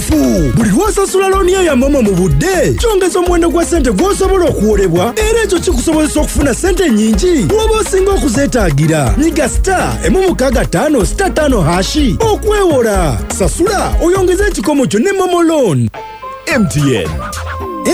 Kituufu, buli lw'osasula looni yo ya MoMo mu budde, kyongeza omuwendo gwa ssente gw'osobola okuwolebwa, era ekyo kikusobozesa okufuna ssente nnyingi bw'oba osinga okuzeetaagira. Nyiga *165*5# okwewola. Sasula oyongeze ekikomo kyo ne MoMo loan. MTN.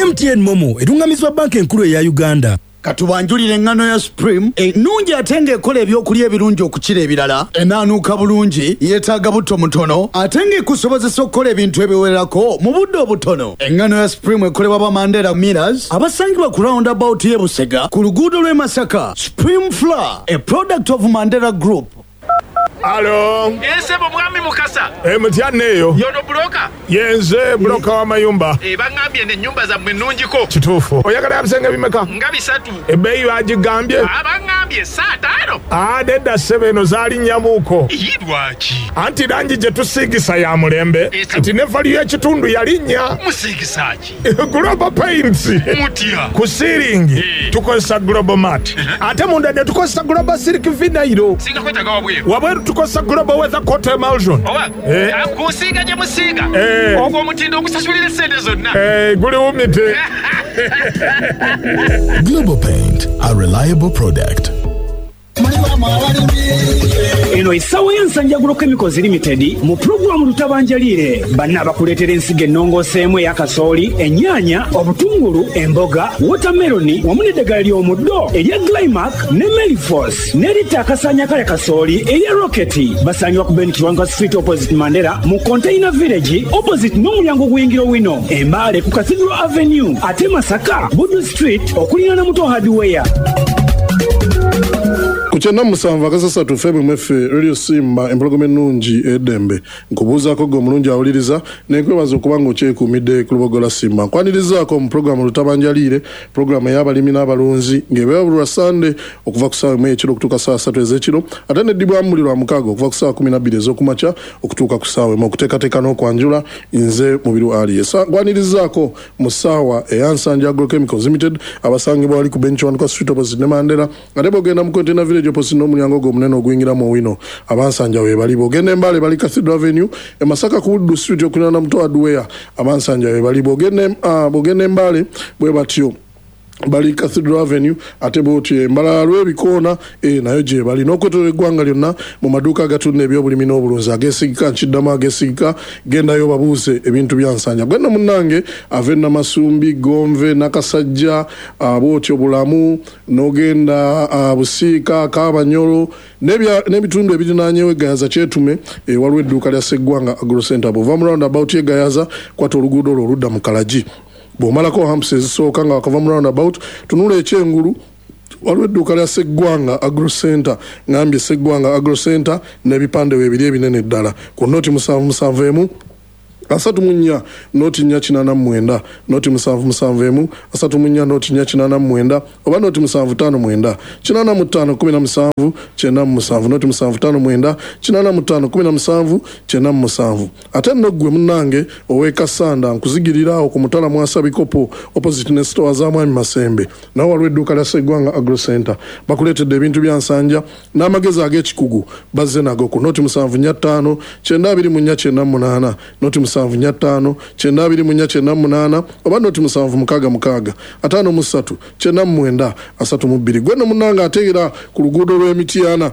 MTN MoMo erungamizibwa Bbanka Enkulu eya Uganda. Katubanjulire eŋŋano ya Supreme ennungi ate ng'ekola ebyokulya ebirungi okukira ebirala. Enaanuuka bulungi, yeetaaga butto mutono ate ng'ekusobozesa okukola ebintu ebiwerako mu budde obutono. Eŋŋano ya Supreme ekolebwa ba Mandela Millers abasangibwa ku roundabout y'e Busega ku luguudo lw'e Masaka. Supreme Flour, a product of Mandela Group. Alo. Eeh ssebo mwami Mukasa. Eeh mutya neeyo. Y'ono buloka? Yenze buloka w'amayumba. Eeh bangambye eno ennyumba zammwe nnungiko. Kituufu. Oyagala ya bisenge bimeka? Nga bisatu. Ebbeeyi baagigambye? Aah bangambye saa taano. Aah nedda ssebo eno zaalinnyamuuko. Iyii lwaki? Anti langi gye tusiigisa ya mulembe kati ne valiyu y'ekitundu yalinnya. Musiigisa ki? Global Paints. Mutya? Ku siiringi tukozesa Global Mat ate munda ne tukozesa Global Silk Vinyl. Singa kwetaaga wabweru? Wabweru tukozesa Global Weather Coat Emulsion. Oba ku nsiiga gye musiiga ogwo omutindo ogusasulira essente zonna? Guli wumite. Global Paint, a reliable product. Eno essaawa ya Nsangi Agro Chemicals Limited mu pulogulaamu Lutabanjaliire. Banna abakuleetera ensigo ennongooseemu eya kasooli, ennyaanya, obutungulu, emboga, wootameroni wamu n'eddagala ly'omuddo erya Glymac ne Melifos n'eritta akasaanyi akalya kasooli erya Rocket. Basangibwa ku Ben Kiwanuka Street opposite Mandela mu Container Village opposite n'omulyango oguyingira Owino e Mbale ku Cathedral Avenue ate Masaka Buddu Street okuliraana Muto Hardware. Ku kyenda mu musanvu akasasatu ffe bwe mweffe Radio Simba empologoma ennungi ey'eddembe. Nkubuuzaako ggwe omulungi awuliriza ne nkwebaza okuba ng'okyekuumidde ku Lubogola Simba. Nkwanirizaako mu pulogulaamu Lutabanjaliire, pulogulaamu ey'abalimi n'abalunzi ng'ebeera buli lwa Ssande okuva ku ssaawa emu ey'ekiro okutuuka ssaawa ssatu ez'ekiro ate n'eddibwamu buli Lwamukaaga okuva ku ssaawa kkumi na bbiri ez'okumakya okutuuka ku ssaawa emu. Okuteekateeka n'okwanjula nze Mubiru Ali. Nkwanirizaako mu ssaawa eya Nsangi Agrochemicals Limited abasangibwa wali ku Ben Kiwanuka Street opposite ne Mandela ate bw'ogenda mu Container Village opposite n'omulyango ogwo omunene oguyingira mu Owino abansanja weebali. Bw'ogenda e Mbale bali Cathedral Avenue, e Masaka ku Buddu Street okuliraana Muto Hardware abansanja weebali. Bw'ogenda e Mbale bwe batyo bali Cathedral Avenue ate bw'otyo e Mbalala Lwebikoona eh, nayo gyebali n'okwetoloola eggwanga lyonna mu maduuka agatunda ebyobulimi n'obulunzi ageesigika. Nkiddamu ageesigika, gendayo obabuuze ebintu bya Nsanja. Gwe nno munnange ava e Namasumbi, Ggonve, Nakasajja, ah, bw'otyo Bulamu n'ogenda ah, Busiika, Kaabanyolo n'ebitundu ebirinaanyeewo e Gayaza Kyetume, eh, waliwo edduuka lya Sseggwanga Agro Centre. Bw'ova mu roundabout y'e Gayaza kwata oluguudo olwo oludda mu Kalagi. Bw'omalako humps ezisooka nga wakava mu roundabout, tunula ekyengulu waliwo edduuka lya Sseggwanga Agro Centre. Ngambye Sseggwanga Agro Centre n'ebipande weebiri ebinene ddala. Ku noti musanvu musanvu emu 34 noti nnya kinaana mu mwenda, noti musanvu musanvu emu 34 noti nnya kinaana mu mwenda oba noti musanvu ttaano mwenda 85 17 97, noti musanvu ttaano mwenda 85 17 97. Ate nno ggwe munnange ow'e Kassanda nkuzigirira awo ku Mutala Mwasa Bikopo opposite ne sitoowa za Mwami Masembe nawo waliwo edduuka lya Sseggwanga Agro Centre. Bakuleetedde ebintu bya Nsanja n'amagezi ag'ekikugu bazze nago ku noti musanvu nnya ttaano kyenda abiri mu nnya kyenda mu munaana, noti musanvu nnya ttaano kyenda abiri mu nnya kyenda mu munaana oba noti musanvu mukaaga mukaaga ataano mu ssatu kyenda mu mwenda asatu mu bbiri. Ggwe nno munnange ate era ku luguudo lw'e Mityana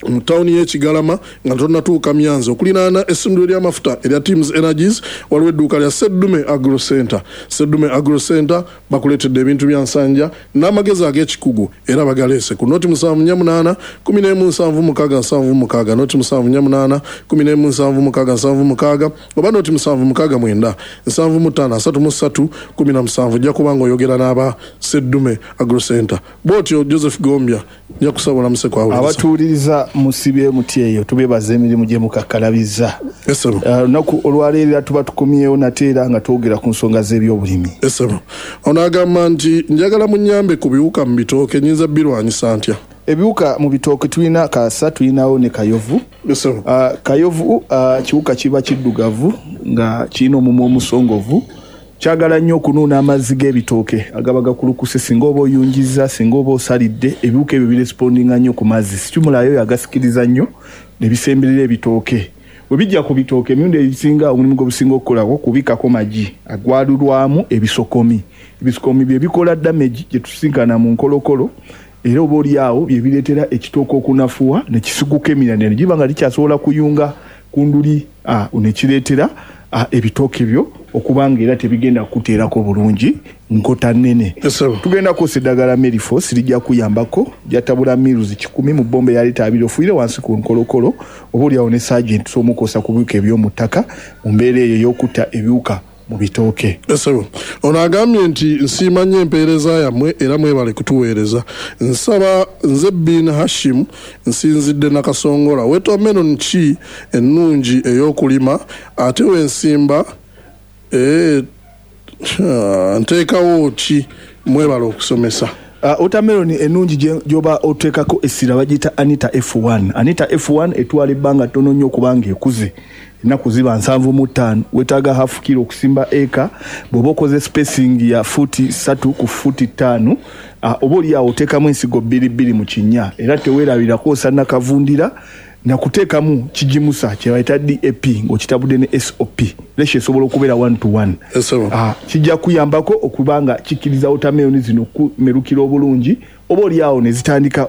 mu tawuni y'e Kigalama nga tonnatuuka Myanzi okuliraana essundiro ly'amafuta erya Teams Energies waliwo edduuka lya Sseddume Agro Centre. Sseddume Agro Centre bakuleetedde ebintu bya Nsanja n'amagezi ag'ekikugu era bagaleese ku noti musanvu nnya munaana 11 76 76, noti musanvu nnya munaana 11 76 76 oba noti musanvu mukaaga mwenda 75 33 17. Ojja kuba ng'oyogera n'aba Sseddume Agro Centre. Bw'otyo Joseph Gombya nja kusaba olamuse kwawuliriza. Abatuwuliriza musibye mutya eyo, tubebaza emirimu gye mukakkalabizza. Yes, ssebo. Olunaku olwaleero era tuba tukomyewo nate era nga twogera ku nsonga z'ebyobulimi. Yes, ssebo. Ono agamba nti njagala munnyambe ku biwuka mu bitooke nnyinza birwanyisa ntya? Ebiwuka mu bitooke tulina kaasa, tulinawo ne kayovu. Yes, ssebo. Kayovu kiwuka kiba kiddugavu nga kirina omumwa omusongovu. Kyagala nnyo okunuuna amazzi g'ebitooke agaba gakulukuse. Singa oba oyungizza, singa oba osalidde, ebiwuka ebyo birespondinga nnyo ku mazzi. Situmulayo oyo agasikiriza nnyo ne bisemberera ebitooke. Bwe bijja ku bitooke, emirundi egisinga omulimu gwe businga okukolako kubikako magi agwalulwamu ebisokomi. Ebisokomi bye bikola damage gye tusinkana mu nkolokolo, era oba oli awo bye bireetera ekitooke okunafuwa ne kisiguka emirandira ne giba nga likyasobola kuyunga ku nduli, ne kireetera ebitooke byo okuba nga era tebigenda kukuteerako bulungi nkota nnene. Tugenda kukozesa eddagala Merifos, lijja kuyambako, lyatabula mils 100 mu bbomba eya lita 20, ofuuyire wansi ku nkolokolo, oba oli awo ne Sergeant tusobola omukozesa ku biwuka eby'omu ttaka mu mbeera eyo ey'okutta ebiwuka mu bitooke. Ssebo, ono agambye nti nsiima nnyo empeereza yammwe era mwebale kutuweereza. Nsaba nze Bin Hashim nsinzidde Nakasongola. Watermelon ki ennungi ey'okulima ate wensimba nteekawo ki? Mwebale okusomesa. Watermelon ennungi gy'oba oteekako essira bagiyita Anita F1. Anita F1 etwala ebbanga ttono nnyo okubanga ekuze, ennaku ziba 75. Weetaaga half kilo okusimba eka. Bw'oba okoze spacing ya fuuti 3 ku fuuti 5, oba oli awo oteekamu ensigo bbiri bbiri mu kinnya, era teweerabira kwosa nakavundira nakuteekamu kigimusa kye bayita DAP ng'okitabudde ne SOP. Ratio esobola okubeera 1 to 1. Kijja kuyambako okuba nga kikkiriza watermelon zino okumerukira obulungi, oba oli awo ne zitandika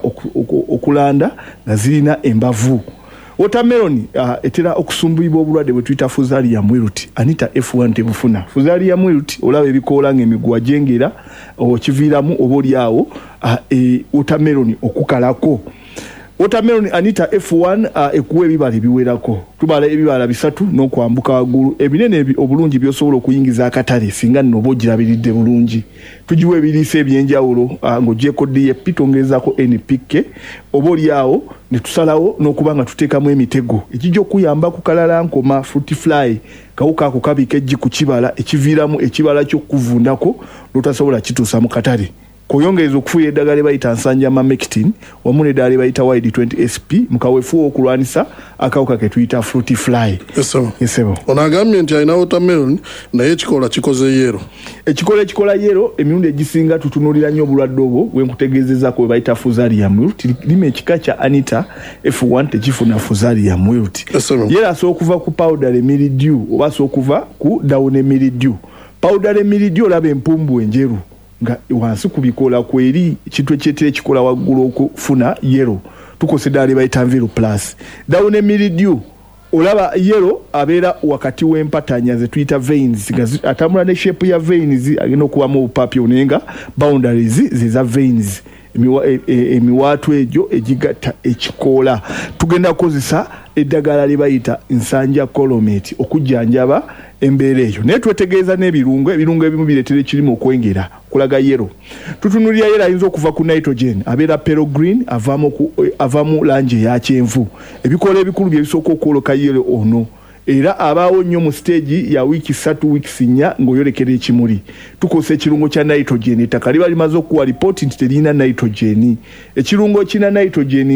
okulanda nga zirina embavu. Watermelon etera okusumbuyibwa obulwadde bwe tuyita Fusarium wilt. Anita F1 tebufuna. Fusarium wilt olaba ebikoola ng'emiguwa gyengera, okiviiramu oba oli awo watermelon okukalako. Watermelon Anita F1 ekuwa ebibala ebiwerako. Tubala ebibala 3 n'okwambuka waggulu ebinene obulungi by'osobola okuyingiza akatale singa nno oba ogirabiridde bulungi. Tugiwa ebiriisa ebyenjawulo, ng'ogyeko DAP twongerezaako NPK, oba oli awo ne tusalawo n'okuba nga tuteekamu emitego egijja okuyamba ku kalalankoma, fruit fly. Kawuka ako kabika eggi ku kibala ekiviiramu ekibala ky'okuvundako n'otasobola kituusa mu katale. Kw'oyongereza okufuuya eddagala lye bayita Nsanja Mamectin wamu n'eddagala lye bayita Wide 20 SP mu kaweefube okulwanisa akawuka ke tuyita fruit fly. Ssebo. Ono agambye nti alina watermelon naye ekikola kikoze yellow. Ekikola ekikola yellow emirundi egisinga tutunuulira nnyo obulwadde obwo bwe nkutegeezezaako bwe bayita Fusarium wilt. Lima ekika kya Anita F1 tekifuna Fusarium wilt. Yellow asobola okuva ku powder mildew oba asobola okuva ku downy mildew. Powder mildew olaba empumbu enjeru nga wansi ku bikoola kweri, ekintu ekyetera ekikola waggulu okufuna yellow. Tukozesa eddagala lye bayita Nviru Plus. Downy mildew olaba yellow abeera wakati w'empatanya ze tuyita veins, nga atambula ne shape ya veins, agenda okubamu obupapi naye nga boundaries ze za veins, emiwaatwa egyo egigatta ekikoola. Tugenda kukozesa eddagala lye bayita Nsanja Colomate okujjanjaba embeera eyo, naye twetegereza n'ebirungo. Ebirungo ebimu bireetera ekirimu okwengera kulaga yellow. Tutunuulira yellow ayinza okuva ku nitrogen, abeera pale green, avaamu langi eya kyenvu. Ebikoola ebikulu bye bisooka okwoleka yellow ono, era abaawo nnyo mu stage ya wiiki 3, wiiki 4 ng'oyolekera ekimuli. Tukozesa ekirungo kya nitrogen, ettaka liba limaze okuwa lipooti nti teririna nitrogen. Ekirungo kirina nitrogen.